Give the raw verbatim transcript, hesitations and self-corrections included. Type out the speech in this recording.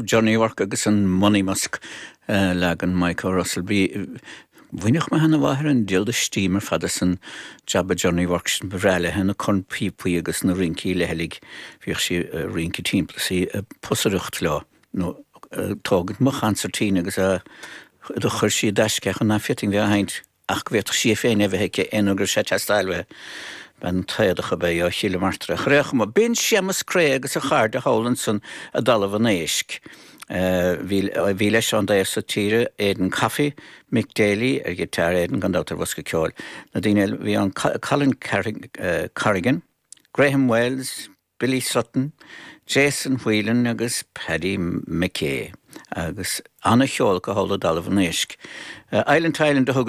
Johnny Work agus an Monymusk uh, leagan Michael Russell bí Bhainfeadh mo sheanmháthair an diabhal de steam ar fad as an jab Johnny Work sin ba bhreá léi na cornphíopaí agus na rincí leithligh bhíodh sí uh, rince timpeall sí uh, pusaireacht leo nó tógaint mo chancertín agus a do chuir sí deisce an na fitting bhí haint ach go bhféadfadh sí féin a bheith aici aon uair sé teastáil ben taadach a bé a chiile martre. Chréach ma bin Séamus Creagh agus a chairde thall ansan i dTalamh an Éisc. Bhí leis an dé sa tíre Aidan Coffey, Mick Daly ar guitar Aidan gan dabht ar bhosca ceoil. Na daoine bhí an Colin Corrigan, Graham Wells, Billy Sutton, Jason Whelan agus Paddy McKay agus an-cheol go thall i dTalamh an Éisc. Uh, Island Island a thug